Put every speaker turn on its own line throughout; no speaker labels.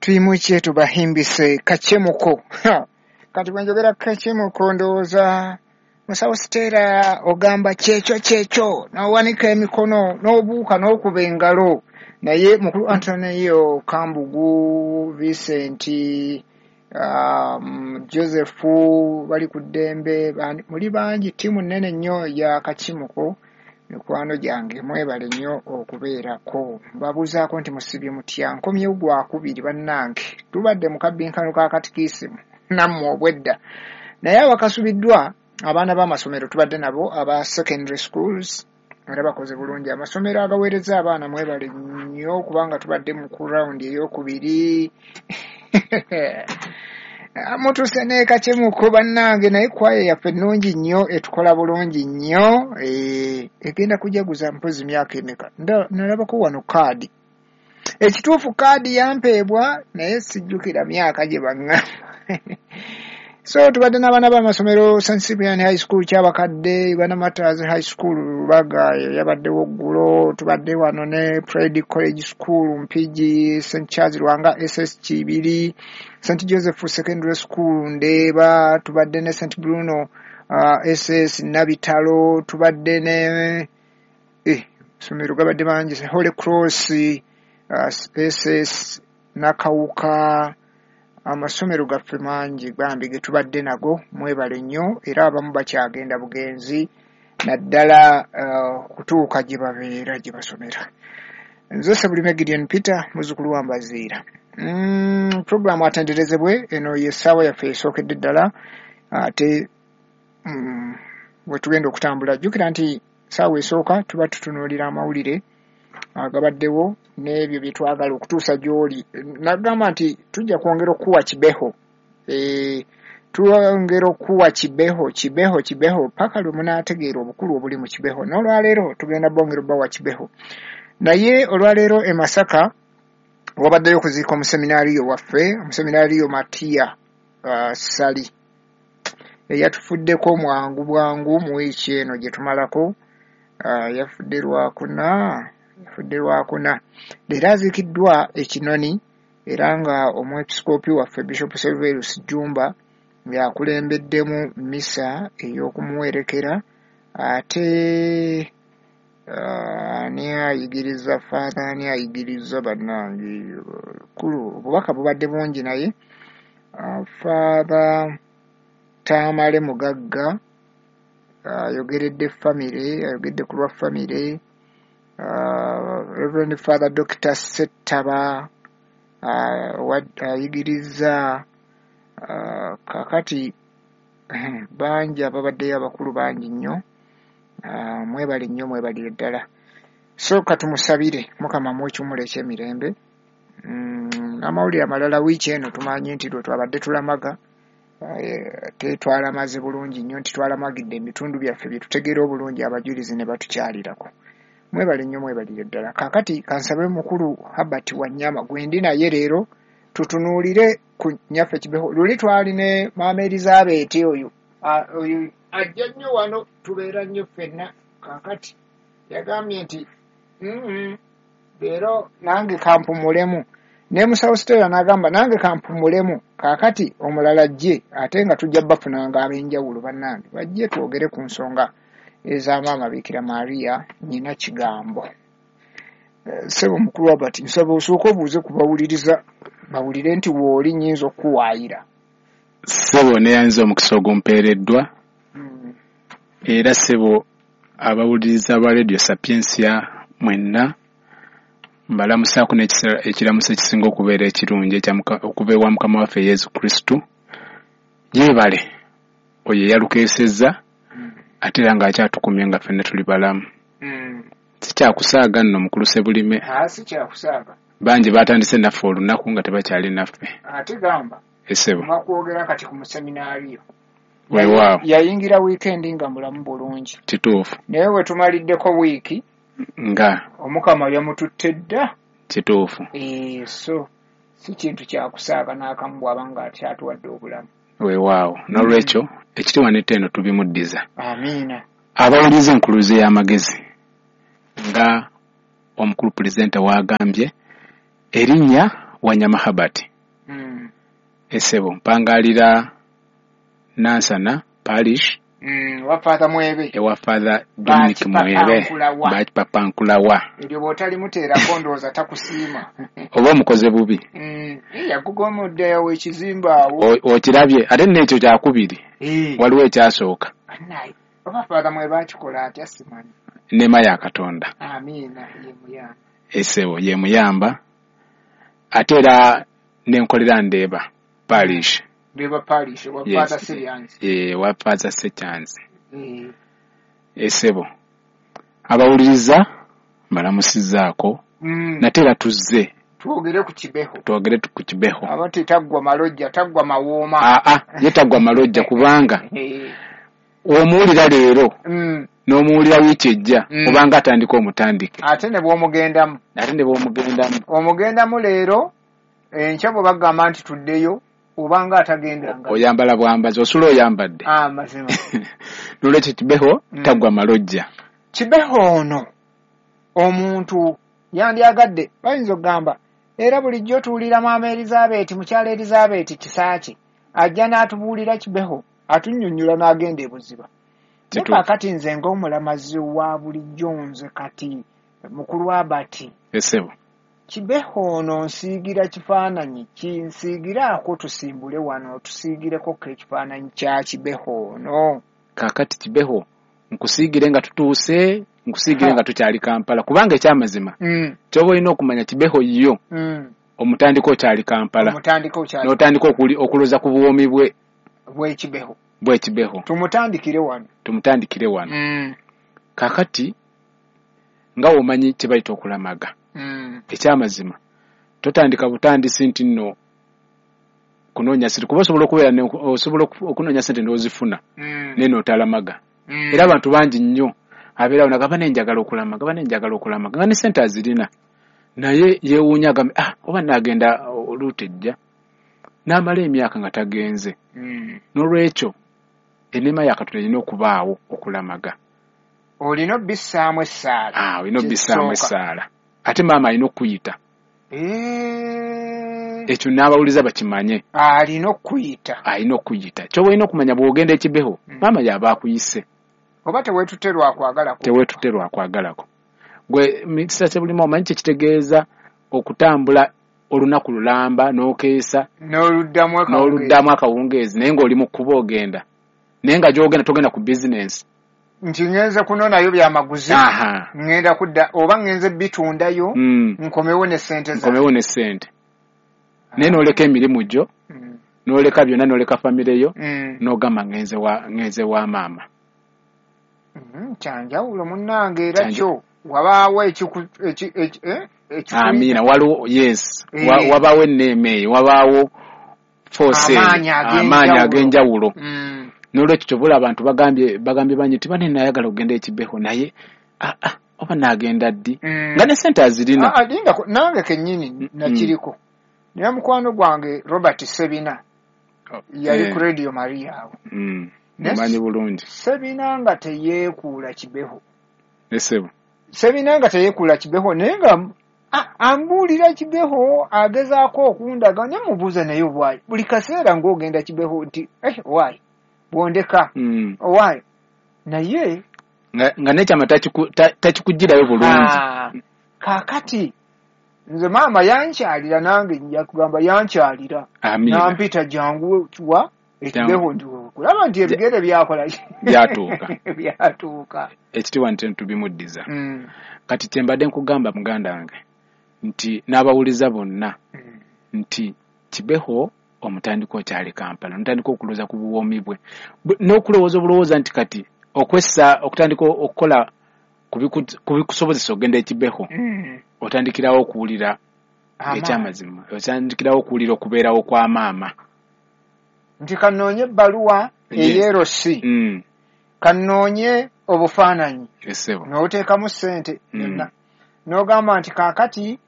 Twimukye tubahimbise Kacemuko. Kati bwe njogera Kacemuko, ndowooza musawo Siteera ogamba kyekyo kyekyo, n'owanika emikono n'obuuka n'okuba engalo. Naye mukulu Antonio Kambugu, Vincent, Joseph bali ku ddembe, muli bangi, ttiimu nnene nnyo ya Kakimuko, mikwano gyange, mwebale nnyo okubeerako. Mbabuuzaako nti musibye mutya? Nkomyewo gwakubiri bannange, tubadde mu kabbinkano ka katikisimu nammwe obwedda, naye awakasubiddwa abaana b'amasomero tubadde nabo aba secondary schools, era bakoze bulungi. Amasomero agaweereza abaana mwebale nnyo, kubanga tubadde mu ku rawundi eyokubiri, mutuuse n'Ekacemuko bannange. Naye kwaya yaffe ennungi nnyo, etukola bulungi nnyo, egenda kujaguza mpozi myaka emeka? Nalabako wano kaadi, ekituufu kaadi yampeebwa naye sijjukira myaka gye baŋŋamba. So tubadde n'abaana b'amasomero, St Cyprian High School Kyabakadde, Uganda Martyrs High School Lubaga yabaddewo ggulo, tubadde wano ne Pride College School Mpigi, St Charles Lwanga SS Kibiri, St Joseph Secondary School Ndeeba, tubadde ne St Bruno SS Nabitalo, tubadde ne somero gabadde mangi, Holy Cross SS Nakawuka. Amasomero gaffe mangi bambi ge tubadde nago, mwebale nnyo, era abamu bakyagenda bugenzi naddala kutuuka gye babeera gye basomera. Nze Sebulime Gideon Peter, muzzukulu wa Mbaziira. Puroguramu atenderezebwe, eno y'essaawa yaffe esookedde ddala, ate bwe tugenda okutambula. Jjukira nti ssaawa esooka tuba tutunuulira amawulire agabaddewo n'ebyo bye twagala okutuusa gy'oli. Nagamba nti tujja kwongera okukuwa Kibeho, twongera okukuwa Kibeho, Kibeho, Kibeho paka lwe munaategeera obukulu obuli mu Kibeho. N'olwaleero tugenda bongera obbawa Kibeho. Naye olwaleero e Masaka wabaddeyo okuziika omuseminaariyo waffe, omuseminaariyo Matiya Sali, eyatufuddeko mwangu bwangu mu wiiki eno gye tumalako. Yafudde Lwakuna, yafudde Lwakuna, leero aziikiddwa e Kinoni, era nga omwepisikoopi waffe Bishop Serverus Jjumba yakulembeddemu misa ey'okumuwerekera. Ate ani ayigiriza, Father ani ayigiriza bannange kulu, obubaka bubadde bungi, naye Father Tamale Mugagga ayogeredde famire, ayogedde ku lwa famire. Reverend Father Dr Settaba ayigiriza. Kakati bangi ababaddeyo, abakulu bangi nnyo, mwebale nnyo, mwebalire ddala. So katumusabire Mukama amuwe ekiwummulo ekyemirembe. Amawulire amalala, wiiki eno tumanyi nti lwe twabadde tulamaga, tetwalamaze bulungi nnyo nti twalamagidde ebitundu byaffe bye tutegeera obulungi, abajulizi ne batukyalirako. Mwebale nnyo, mwebalire ddala. Kaakati kansabe mukulu Habert Wanyama gwendi naye leero tutunuulire ku nnyaffe Kibeho. Luli twali ne maama Elizabeth, oyo oyo ajja nnyo wano, tubeera nnyo ffenna. Kaakati yagambye nti leero nange kampumulemu, ne musawo Stella n'agamba nange kampumulemu, kaakati omulala ajje, ate nga tujja bafunanga ab'enjawulo bannange bajje twogere ku nsonga eza maama Bikira Maria nnyina Kigambo. Ssebo mukulu Robert, nsaba osooke obuuze ku bawuliriza bawulire nti wooli nnyinza okukuwaayira.
Ssebo, neyanziza omukisa ogumpeereddwa. Era ssebo, abawuliriza ba Radio Sapientia mwenna mbalamusaako ekiramuso ekisinga okubeera ekirungi okuva ewa Mukama waffe Yesu Kristo. Yeebale oyo eyalukeesezza ate era ng'akyatukumye nga ffenna tuli balamu. Sikyakusaaga nno mukulu Sebulime.
Si kyakusaaga.
Bangi batandise naffe olunaku nga tebakyali naffe.
Ate gamba
Esebo.
Bakwogera kati ku museminaariyo.
Weewaawo.
Yayingira wiikendi nga mulamu bulungi.
Kituufu.
Naye we tumaliddeko wiiki
nga
Omukama yamututte dda.
Kituufu.
So si kintu kyakusaaga n'akamu bw'aba nga akyatuwadde obulamu.
Weewaawo. N'olwekyo ekitiibwa n'ettendo tubimuddiza.
Amiina.
Abawuliriza enkuluze y'amagezi nga omukulu pulezidenti w'agambye, erinnya Wanyama Habert. Esebo mpangalira Nansana Parish.
Wa Father Mwebe.
Ewa Father Dominic Mwebe. Bakipapankulawa.
Eryo bw'otalimuteerako ndowooza takusiima.
Oba omukoze bubi.
Yakugomoddeyo ekizimba awo.
Okirabye ate n'ekyo kyakubiri. Waliwo ekyasooka.
Oba Father Mwebe akikola atya simanyi.
Neema ya Katonda.
Amiina, ye muyamba.
Esebo ye muyamba. Ate era nenkolera Ndeeba Parish.
Ndeeba Parish, wa Father Sekyanzi.
Wa Father Sekyanzi. Esebo abawuliriza mbalamusizzaako. Nate era tuzze
twogere ku Kibeho.
Twogere ku Kibeho.
Aba taggwa malojja, taggwa mawooma.
Ye taggwa malojja kubanga omuwulira leero n'omuwulira wiiki ejja obanga atandika omutandike.
Ate ne bw'omugendamu. Omugendamu leero enkya bwe bagamba nti tuddeyo obanga atagendanga.
Oyambala bwambazi, osula oyambadde.
Amazima.
N'olwekyo Kibeho taggwa malojja.
Kibeho ono omuntu yandyagadde bayinza okugamba era bulijjo tuwulira Maama Elizabeth, mukyala Elizabeth Kisaaki ajja n'atubuulira Kibeho atunnyonnyola n'agenda e Buziba. Naye kaakati nze ng'omulamazi wa bulijjo nze kati mukulu Abati.
Esebo.
Kibeho ono nsiigira kifaananyi ki? Nsiigiraako tusimbule wano tusiigireko ekifaananyi kya Kibeho ono.
Kaakati Kibeho nkusiigire nga tutuuse, nkusiigire nga tukyali Kampala kubanga ekyamazima kyoba olina okumanya Kibeho yo omutandika okyali Kampala. N'otandika okuloza ku buwoomi bwe
bw'Ekibeho.
Bw'Ekibeho.
Tumutandikire wano.
Tumutandikire wano. Kaakati nga omanyi kye bayita okulamaga. Ekyamazima totandika butandisi nti nno kunoonya ssente kuba osobola okubeera osobola okunoonya ssente n'ozifuna naye n'otalamaga. Era abantu bangi nnyo abeerawo nagamba nenjagala okulamaga, banenjagala okulamaga nga ne ssente azirina naye yeewuunya agambe oba naagenda oluuta ejja n'amala emyaka nga tagenze. N'olwekyo enneema ya Katonda erina okubaawo okulamaga.
Olina obbissaamu essaala.
Olina obbissaamu essaala. Ate maama alina okuyita. Ekyo n'abawuliza bakimanye.
Alina okuyita.
Alina okuyita. Ky'oba olina okumanya bw'ogenda Ekibeho, maama y'aba akuyise.
Oba teweetutte lwa kwagalako.
Teweetutte lwa kwagalako. Gwe Mr. Sebulima omanyi kye kitegeeza okutambula olunaku lulamba n'okeesa n'oluddamu akawungeezi naye ng'oli mu kkubo ogenda. Naye nga gy'ogenda togenda ku bizinensi.
Nti ngenze kunonayo byamaguzi, ngenda kudda oba ngenze bitundayo, nkomewo ne ssente zange.
Nkomewo ne ssente. Naye n'oleka emirimu gyo, n'oleka byonna, n'oleka famire yo, n'ogamba ngenze wa maama.
Kyanjawulo munnange era kyo wabaawo
Amiina, waliwo yes, wabaawo enneema eyo, wabaawo force amaanyi ag'enjawulo. N'olwekyo ky'oba abantu bagambye bangi nti bane nayagala okugenda Ekibeho naye oba naagenda ddi nga ne ssente azirina.
Nange kennyini nakiriko. Naye mukwano gwange Robert Sebina yali ku Radio Maria awo.
Mumanyi bulungi.
Sebina nga teyeekuula Kibeho.
Esebo.
Sebina nga teyeekuula Kibeho naye nga ambuulira Kibeho agezaako okundaga ne mubuuza naye why. Buli kaseera ng'ogenda Kibeho nti why? Bwondeka. Why? Naye
nga n'ekyama takikugirayo bulungi.
Kaakati nze maama yankyalira nange nja kugamba yankyalira. Nampita jangu wa Ekibeho nti kulaba nti ebigere byakola
byatuuka.
Byatuuka.
Ekitiibwa nti tubimuddiza. Kati kye mbadde nkugamba muganda wange nti n'abawuliza bonna nti Kibeho omutandika okyali Kampala, omutandika okulowooza ku buwoomi bwe n'okulowooza obulowooza nti kati okwessa okutandika okukola kubikusobozesa okugenda Ekibeho otandikirawo okuwulira ekyamazima, otandikirawo okuwulira okubeerawo kwa maama.
Nti kanoonye ebbaluwa ey'erosi, kanoonye obufaananyi, n'oteekamu ssente yonna, n'ogamba nti kaakati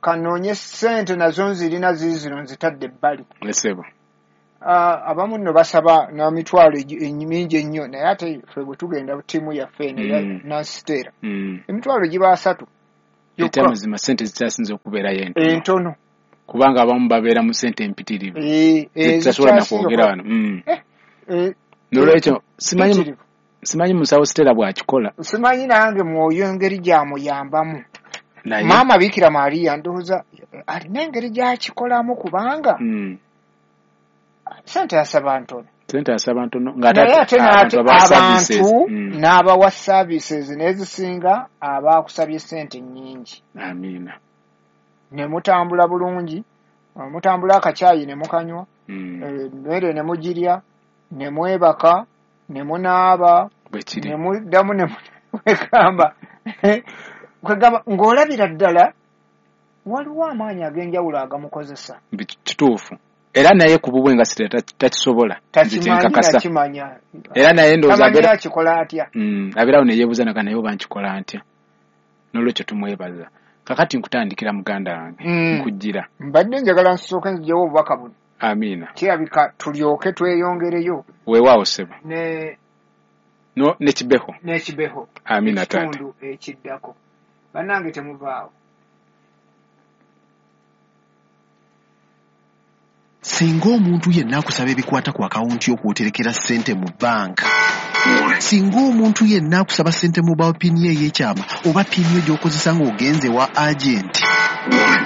kanoonye ssente nazo nzirina ziizino nzitadde ebbali. Abamu nno basaba n'emitwalo mingi ennyo naye ate ffe bwe tugenda ttiimu yaffe eno eya Nancy emitwalo giba 3.
Ekyamazima ssente zikyasinze okubeerayo
entono.
Kubanga abamu babeera mu ssente empitirivu zitasobola na kwogera wano. N'olwekyo simanyi musawo Stella bw'akikola.
Simanyi nange mwoyo engeri gy'amuyambamu. Maama Bikira Maria ndowooza alina engeri gy'akikolamu kubanga ssente asaba ntono.
Ssente asaba ntono
naye ate abantu n'abawa services n'ezisinga abaakusabye ssente nnyingi.
Amiina.
Ne mutambula bulungi, mutambula akacaayi ne mukanywa, emmere ne mugirya, ne mwebaka, ne munaaba, ne muddamu ne mwegamba kwegamba ng'olabira ddala waliwo amaanyi ag'enjawulo agamukozesa.
Kituufu. Era naye ku bubwe nga Stella takisobola.
Takimanya.
Era naye ndowooza
akikola atya.
Abeerawo ne yeebuuza naye oba nkikola ntya. N'olwekyo tumwebaza. Kakati nkutandikira muganda wange nkujjira.
Mbadde njagala nsooke nziggyewo obubaka buno.
Amiina.
Kirabika tulyoke tweyongereyo.
Weewaawo ssebo. Ne Kibeho.
Ne Kibeho.
Amiina taata.
Ekitundu ekiddako. Bannange temuvaawo.
Singa omuntu yenna akusaba ebikwata ku akawunti yo kw'oterekera ssente mu bbanka, singa omuntu yenna akusaba ssente mobile pin ye ey'ekyama oba pin yo gy'okozesa ng'ogenze wa agenti,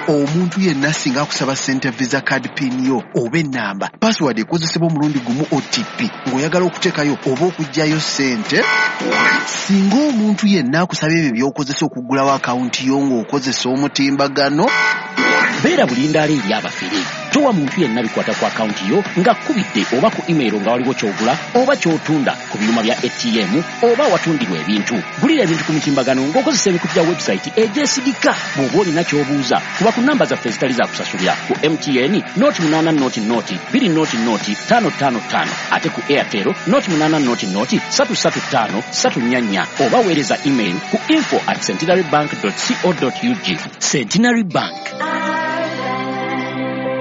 omuntu yenna singa akusaba ssente visa card pin yo oba ennamba, password ekozesebwa omulundi gumu OTP ng'oyagala okuteekayo oba okuggyayo ssente, singa omuntu yenna akusaba ebyo by'okozesa okuggulawo akawunti yo ng'okozesa omutimbagano,
beera bulindaala eri abafere. Towa muntu yenna bikwata ku akawunti yo nga kkubidde oba ku email nga waliwo ky'ogula oba ky'otunda ku byuma bya ATM oba awatundirwa ebintu. Gulira ebintu ku mitimbagano ng'okozesa emikutu gya website egyesigika. Bw'oba olina ky'obuuza, kuba ku namba zaffe ezitali za kusasulira ku MTN 0800 0 200 555, ate ku Airtel 0800 335 344, oba weereza email ku info@centenarybank.co.ug. Centenary Bank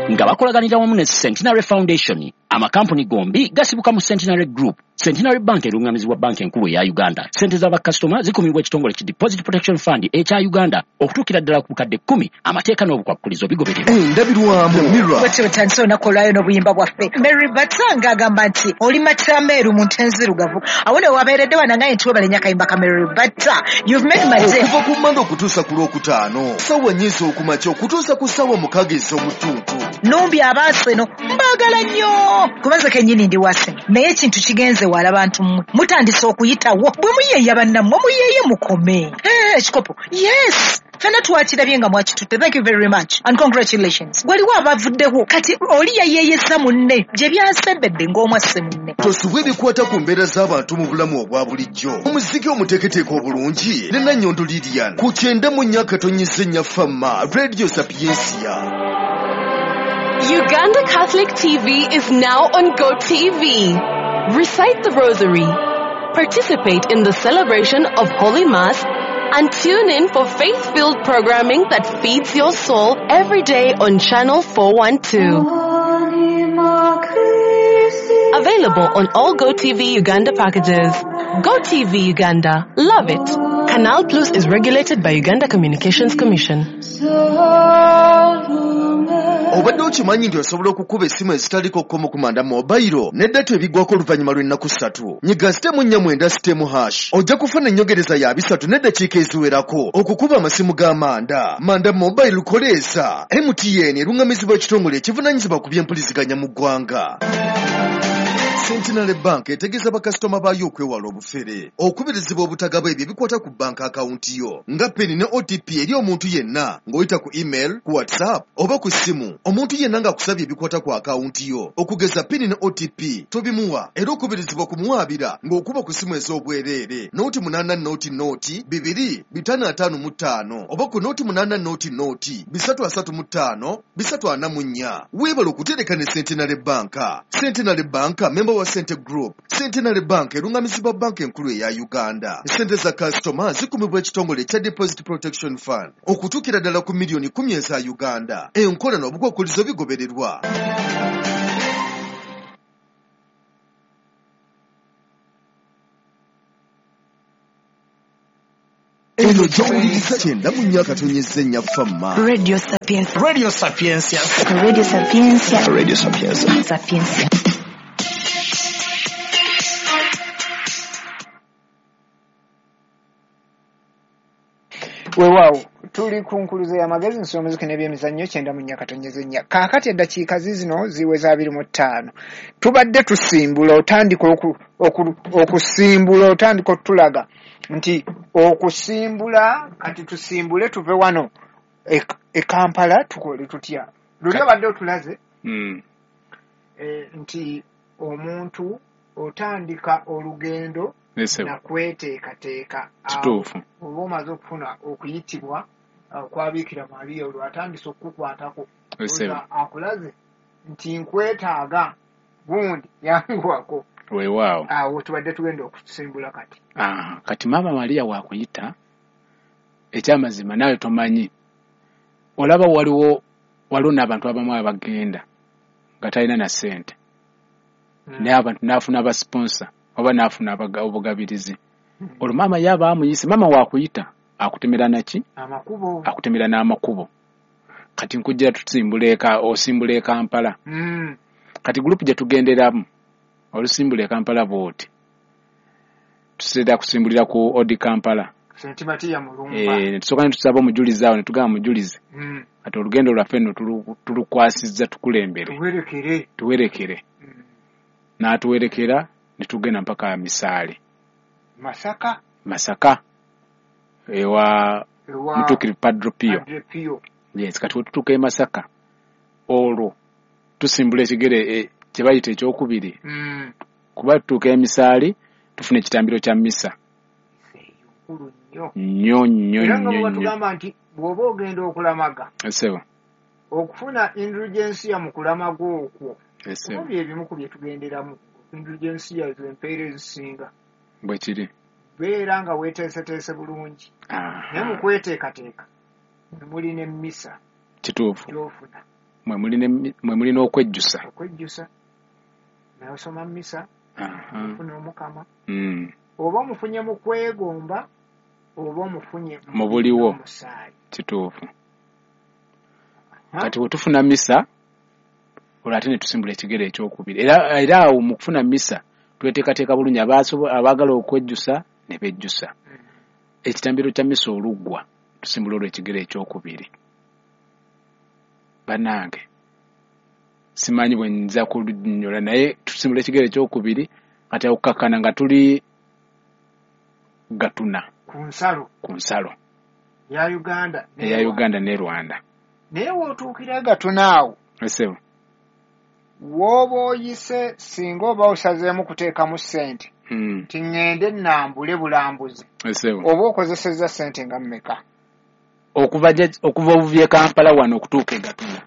nga bakolaganira wamu ne Centenary Foundation. Amakampuni gombi gasibuka mu Centenary Group. Centenary Bank erungamizibwa banka enkulu eya Uganda. Ssente z'abakasitoma zikumibwa ekitongole ki Deposit Protection Fund ekya Uganda okutuukira ddala ku bukadde 10. Amateeka n'obukwakkulizo bigobererwa.
Endabirwamu Mirror.
Bwetyo butandise olunaku olwayo n'obuyimba bwaffe. Mary Bata ng'agamba nti oli matameeru mu nte nzirugavu. Awo ne wabeeredde wanangaye nti webale nnyo akayimba ka Mary Bata. You've made my day.
Okuva ku Mmande okutuusa ku Lwokutaano, ssaawa nnya ez'okumakya okutuusa ku ssaawa 6 ez'omutuntu.
Numbi abaaseno mbaagala nnyo. Kubanza kennyini ndi wase. Naye ekintu kigenze wala bantu mmwe. Mutandise okuyitawo. Bwe muyeeya bannammwe muyeeye mukome. Ekikopo. Yes. Fena twakirabye nga mwakitutte. Thank you very much and congratulations. Waliwo abavuddewo kati oli yayeeyeza munne gye byasembedde ng'omwasse munne.
Tosubwa ebikwata ku mbeera z'abantu mu bulamu obwa bulijjo. Omuziki omuteeketeeke obulungi ne Nannyondo Lilian ku 94.4 Fama Radio Sapiensia.
Uganda Catholic TV is now on GoTV. Recite the Rosary, participate in the celebration of Holy Mass, and tune in for faith-filled programming that feeds your soul every day on Channel 412. Available on all GoTV Uganda packages. GoTV Uganda. Love it. Canal Plus is regulated by Uganda Communications Commission.
Obadde okimanyi nti osobola okukuba essimu ezitaliko kkomo ku Manda Mobile ne data ebigwako oluvannyuma lw'ennaku 3. Nyiga *490*# ojja kufuna ennyogereza ya 3 n'eddakiika eziwerako okukuba amasimu ga Manda. Manda Mobile koleesa. MTN erungamizibwa ekitongole ekivunaanyizibwa ku by'empuliziganya mu ggwanga. Centenary Bank etegeeza bakasitoma baayo okwewala obufere, okubirizibwa obutagaba ebyo ebikwata ku banka akawunti yo nga PIN ne OTP eri omuntu yenna ng'oyita ku email, ku WhatsApp oba ku ssimu. Omuntu yenna ng'akusabye ebikwata ku akawunti yo okugeza PIN ne OTP tobimuwa, era okubirizibwa kumuwaabira ng'okuba ku ssimu ez'obwereere 800 0 2 555 oba ku 800 0 335 344. Weebale okutereka ne Centenary Bank. Centenary Bank member wa Sente Group. Centenary Bank erungamizibwa banka enkulu eya Uganda. Sente za kasitoma zikumibwa ekitongole ekya Deposit Protection Fund okutuukira ddala ku miliyoni 10 eza Uganda. Enkola n'obukwakkulizo bigobererwa. Eno gy'owuliriza 94.4 Fama.
Radio Sapientia.
Radio Sapientia.
Radio Sapientia.
Radio Sapientia.
Sapientia.
Weewaawo tuli ku nkuluze y'amagezi nsoma muziki n'ebyemizannyo 94.4. Kaakati eddakiika zizino ziweza 25. Tubadde tusimbula, otandika okusimbula, otandika otulaga nti okusimbula, kati tusimbule tuve wano e Kampala tukole tutya. Luli obadde otulaze nti omuntu otandika olugendo nakweteekateeka.
Kituufu.
Oba omaze okufuna okuyitibwa kwa Bikira Maria, olwo atandise okukukwatako, akulaze nti nkwetaaga gundi yanguwako.
Weewaawo.
Awo tubadde tugenda okusimbula kati.
Kati Maama Maria wakuyita, ekyamazima naawe tomanyi. Olaba waliwo n'abantu abamu abagenda nga talina na ssente. Naye abantu n'afuna abasponsa oba n'afuna obugabirizi. Olwo maama yaba amuyise, maama wakuyita akutemera naki?
Amakubo.
Akutemera n'amakubo. Kati nkujja tusimbula osimbula e Kampala. Kati gurupu gye tugenderamu olusimbula e Kampala bw'oti. Tuseera kusimbulira ku Odi Kampala.
St. Matia Mulumba.
Tusooka ne tusaba omujulizi awo ne tugamba mujulizi. Kati olugendo lwaffe nno tulukwasizza tukulembere. Tuwerekere. N'atuwerekera ne tugenda mpaka Misaale. Masaka. Ewa Mutuukirivu Padre Pio. Yes, kati wetutuuka e Masaka olwo tusimbula ekigere kye bayita ekyokubiri. Kuba tutuuka e Misaale tufuna ekitambiro kya misa. Nnyo nnyo
Era nga
nnyo
bwe
nnyo.
batugamba nti bw'oba ogenda okulamaga,
Essebo.
okufuna indulgensiya mu kulamaga okwo,
Essebo.
kuba bye bimu ku bye tugenderamu. Indulgensiya ze empeera ezisinga.
Bwe kiri.
Beera nga weeteeseteese bulungi. Naye mu kweteekateeka mwe muli n'emmisa
Kituufu.
gy'ofuna.
Mwe muli n'okwejjusa.
Okwejjusa. Naye osoma mmisa, ofuna Omukama. Oba omufunye mu kwegomba, oba omufunye
Mu buliwo.
omusaayi.
Kituufu. Kati bwe tufuna misa, olwo ate ne tusimbula ekigere ekyokubiri. Era awo mu kufuna misa tweteekateeka bulungi, abaagala okwejjusa ne bejjusa. Ekitambiro kya misa oluggwa tusimbula olwo ekigere ekyokubiri. Bannange simanyi bwe nza kulunnyonnyola, naye tusimbula ekigere ekyokubiri kati okukakkana nga tuli Gatuna.
Ku nsalo.
Ku nsalo.
Ya Uganda.
Eya Uganda ne Rwanda.
Naye w'otuukira Gatuna awo.
Essebo.
W'oba oyise singa oba osazeemu kuteekamu ssente. Nti ŋŋende nnambule bulambuzi.
Essebo.
Oba okozesezza ssente nga mmeka?
Okuva obuvi e Kampala wano okutuuka e Gatuna.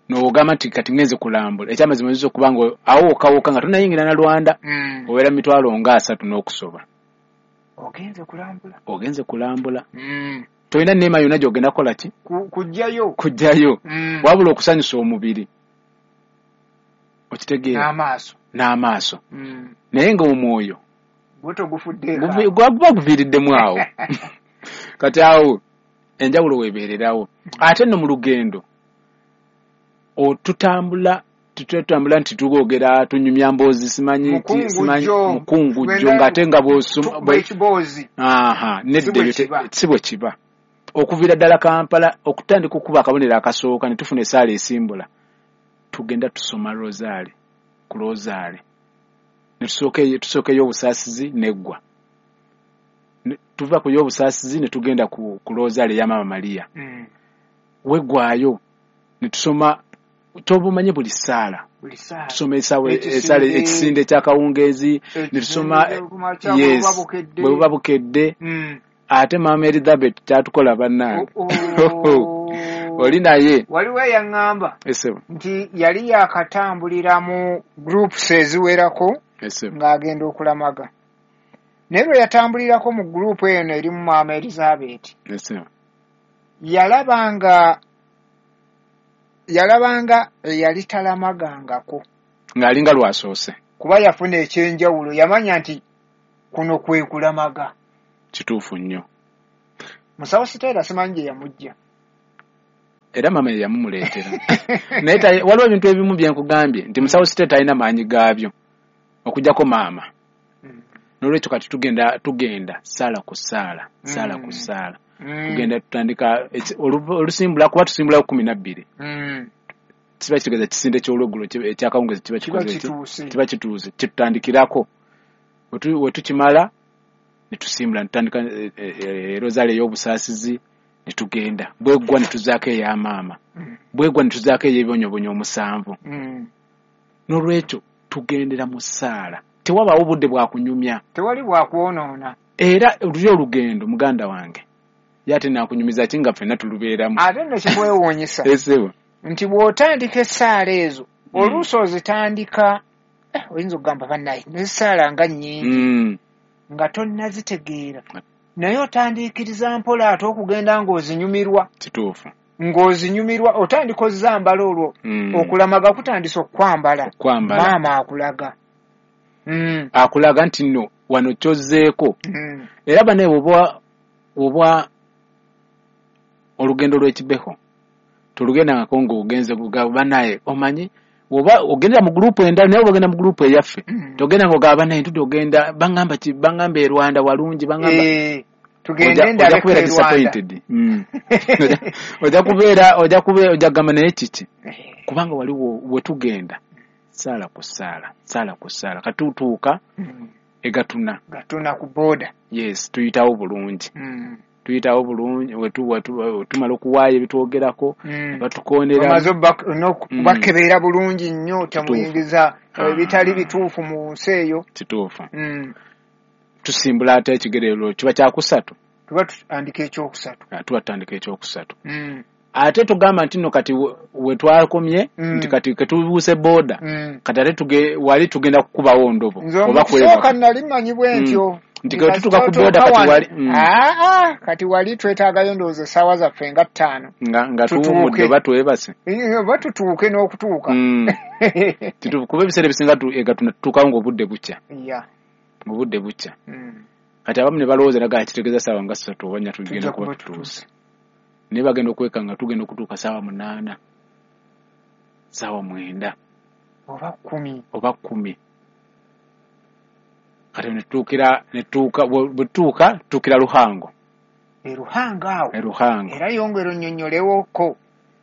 N'ogamba nti kati ŋŋenze kulambula. Ekyamazima oyinza okuba nga awo wokka nga tonnayingira na Rwanda. Obeera mitwalo nga 30 n'okusoba.
Ogenze kulambula.
Ogenze kulambula. Tolina neema yonna gy'ogenda kukola ki?
Kujjayo.
Kujjayo. Wabula okusanyusa omubiri. Okitegeera.
N'amaaso.
N'amaaso. Naye nga omwoyo
Gwo togufudde.
Guba guviiriddemu awo. Kati awo enjawulo weebeererawo. Ate nno mu lugendo tutambula nti twogera tunyumya mboozi simanyi mukungujjo ng'ate nga bw'osoma nedda ebyo si bwe kiba. Okuviira ddala Kampala okutandika okukuba akabonero akasooka ne tufuna essaala esimbula, tugenda tusoma rosaale ku rosaale ne tusooka ey'obusaasizi n'eggwa. Tuva ku y'obusaasizi ne tugenda ku rosaale eya Maama Maria. Weggwayo ne tusoma tobumanyi buli ssaala. Tusoma essaala ekisinde ekyakawungeezi ne tusoma yes bwe buba bukedde. Ate Maama Elizabeth kyatukola bannange. Oli naye.
Waliwo eyaŋŋamba nti yali yakatambulira mu groups eziwerako ng'agenda okulamaga. Naye lwe yatambulirako mu group eno erimu Maama Elizabeth, yalabanga eyali talamagangako.
Ng'alinga lwasoose.
Kuba yafuna ekyenjawulo, yamanya nti kuno kwe kulamaga.
Kituufu nnyo.
Musawo Siteera simanyi gye yamujja.
Era maama ye yamumuleetera. Naye waliwo ebintu ebimu bye nkugambye nti musawo Siteera talina maanyi gaabyo okuggyako maama. N'olwekyo kati tugenda ssaala ku ssaala, ssaala ku ssaala. Tugenda tutandika olusimbula kuba tusimbula 12. Kiba kitegeeza kisinde ky'olweggulo ekyakawungeezi kiba kikoze kiba kituuse kitutandikirako. We tukimala ne tusimbula ne tutandika rosario ey'obusaasizi ne tugenda. Bweggwa ne tuzaako eya maama. Bweggwa ne tuzaako ey'ebibonyoobonyo 7. N'olwekyo tugendera mu ssaala. Tewabaawo budde bwa kunyumya.
Tewali bwa kwonoona.
Era luli olugendo muganda wange. Ye ate naakunyumiza ki nga ffenna tulubeeramu.
Ate nno kikwewuunyisa.
Esebo.
Nti bw'otandika essaala ezo, oluusi ozitandika, oyinza okugamba bannaye n'essaala nga nnyingi, nga tonnazitegeera. Naye otandiikiriza mpola ate okugenda ng'ozinyumirwa.
Kituufu.
Ng'ozinyumirwa otandika ozambala olwo, okulamaga kutandise okwambala. Maama akulaga.
Akulaga nti nno wano kyozzeeko. Era bannaye bw'oba olugendo lw'ekibeho tolugendangako ng'ogenze banaye omanyi oba ogendera mu gurupu endala naye oba ogenda mu gurupu eyaffe togenda ng'ogamba banaye ntudde ogenda bangamba ki bangamba e Rwanda walungi bangamba
tugende ndabeko
kubeera disappointed. Ojja kubeera ojja kugamba naye kiki kubanga waliwo we tugenda ssaala ku ssaala ssaala ku ssaala katutuuka egatuna
gatuna ku boda.
Yes, tuyitawo bulungi. Tuyitawo bulungi tumala okuwaayo ebitwogerako batukoonera
omaze okubakebeera bulungi nnyo temuyingiza ebitali bituufu mu nsi eyo.
Kituufu. Tusimbula ate ekigerero kiba kyakusatu.
Tuba tutandika ekyokusatu.
Tuba tutandika ekyokusatu. Ate tugamba nti nno kati we twakomye nti kati ketubuuse boda kati ate wali tugenda kukubawo ndobo
oba kwebaka. Nali mmanyi bwe ntyo.
Nti tutuuka ku boda kati wali
kati wali twetaagayo ndowooza essaawa zaffe nga 5
nga tuwummudde oba twebase
oba tutuuke n'okutuuka.
Kituufu kuba ebiseera ebisinga egatuna tutuukawo ng'obudde bukya. Obudde bukya. Kati abamu ne balowooza naga kitegeeza ssaawa nga 3 oba 4 tugenda kuba tutuuse. Naye bagenda okweka nga tugenda okutuuka ssaawa 8, ssaawa 9
oba 10
oba 10. Kati ne tutuukira Ruhango.
E Ruhango awo.
E Ruhango.
Era yongera onnyonnyolewoko.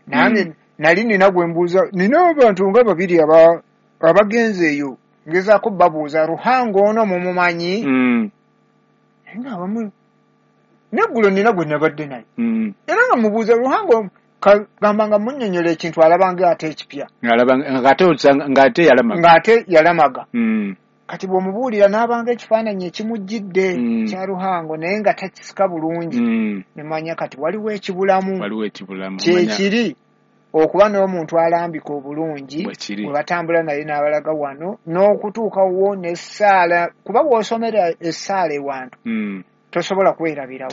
Nange nali nina gwe mbuuza, nina abantu nga babiri abagenze eyo ngezaako babuuza Ruhango ono mumumanyi? Naye nga abamu neggulo nina gwe nabadde naye. Era nga mubuuza Ruhango gamba nga munnyonnyola ekintu alaba ng'ate ekipya.
Ng'ate yalamaga.
Ng'ate yalamaga. Kati bw'omubuulira n'abanga ekifaananyi ekimujjidde kya Ruhango naye nga takisika bulungi. Ne manya kati waliwo ekibulamu.
Waliwo ekibulamu.
Kyekiri okuba n'omuntu alambika obulungi bwe batambula naye n'abalaga wano n'okutuuka wo n'essaala kuba bw'osomera essaala ewantu tosobola kwerabirawo.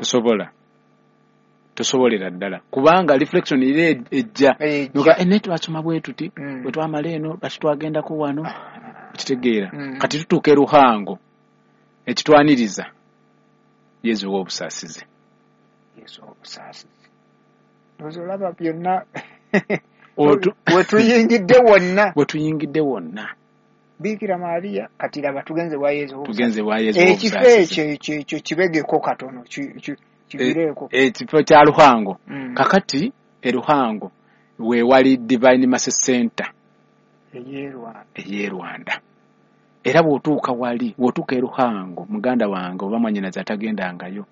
Tosobolera ddala kubanga reflection era ejja. Naye twasoma bwe tuti bwe twamala eno lwaki twagendako wano okitegeera. Kati tutuuka e Ruhango ekitwaniriza Yezu ow'obusaasizi.
Yezu ow'obusaasizi. Ndowooza olaba byonna we tuyingidde wonna.
We tuyingidde wonna.
Biikira Maria kati laba tugenze wa Yezu ow'obusaasizi.
Tugenze wa Yezu ow'obusaasizi.
Ekifo ekyo ekyo kibegeko katono kibireeko.
Ekifo kya Ruhango. Kakati e Ruhango we wali Divine Mercy Center ey'e Rwanda. Era bw'otuuka wali, bw'otuuka e Ruhango muganda wange oba mwannyinaze atagendangayo,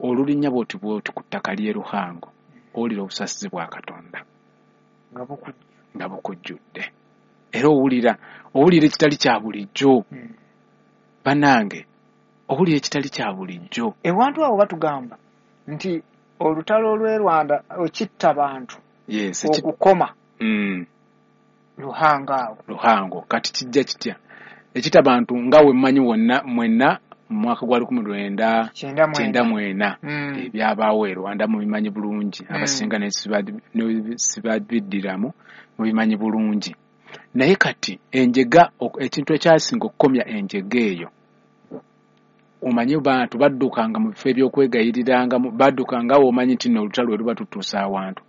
olulinnya bw'oti bw'oti ku ttaka ly'e Ruhango owulira obusaasizi bwa Katonda nga bukujjudde. Era owulira ekitali kya bulijjo. Bannange owulira ekitali kya bulijjo.
Ewantu awo batugamba nti olutalo lw'e Rwanda okitta bantu okukoma Ruhango awo.
Ruhango kati kijja kitya? Ekita bantu nga we mmanyi wonna mwenna mu mwaka gwa 1994 ebyabaawo e Rwanda mubimanyi bulungi. Abasinga ne sibabiddiramu mubimanyi bulungi. Naye kati enjega ekintu ekyasinga okukomya enjega eyo Omanye bantu baddukanga mu bifo ebyokwegayirirangamu, baddukanga awo omanyi nti nno olutalo lwe luba tutuusa awantu.